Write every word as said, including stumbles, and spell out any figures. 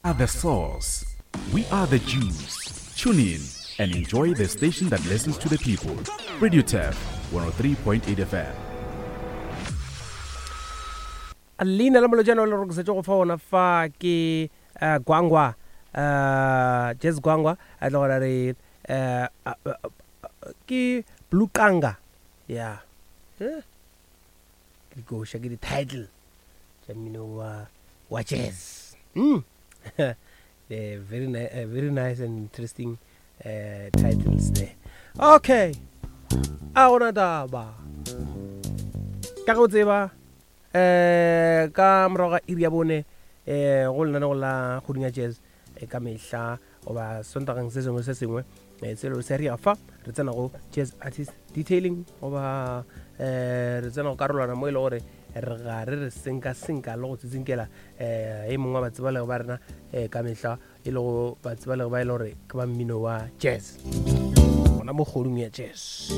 are the source. We are the juice. Tune in and enjoy the station that listens to the people. Radio Turf one oh three point eight F M. Leina la molojana o le rokisetše go fa ona fa ke, eh, Gwangwa, eh, Jazz Gwangwa, a tla gore re, eh, a, a, a, ke Blue Kanga. Yeah. Eh? Ke dikoša, ke di-title tša mmino wa, wa jazz. Mm. Eh, very ni-, eh, very nice and interesting, eh, titles there. Okay. A gona taba. Ka go tseba, eh, ka morago ga iri ya bone, eh, go lenanego la Kgoding ya Jazz, eh, ka mehla goba Sontageng se sengwe se sengwe, eh, selo se re ya fa, re tsena go Jazz Artist Detailing goba, eh, re tsena go karolwana mo e le gore re ga re re senka-senka le go tsitsinkela, eh, e mongwe wa batsebalegi ba rena, eh, ka mehla e le go batsebalegi ba e le gore ke ba mmino wa jazz, gona mo kgoding ya jazz.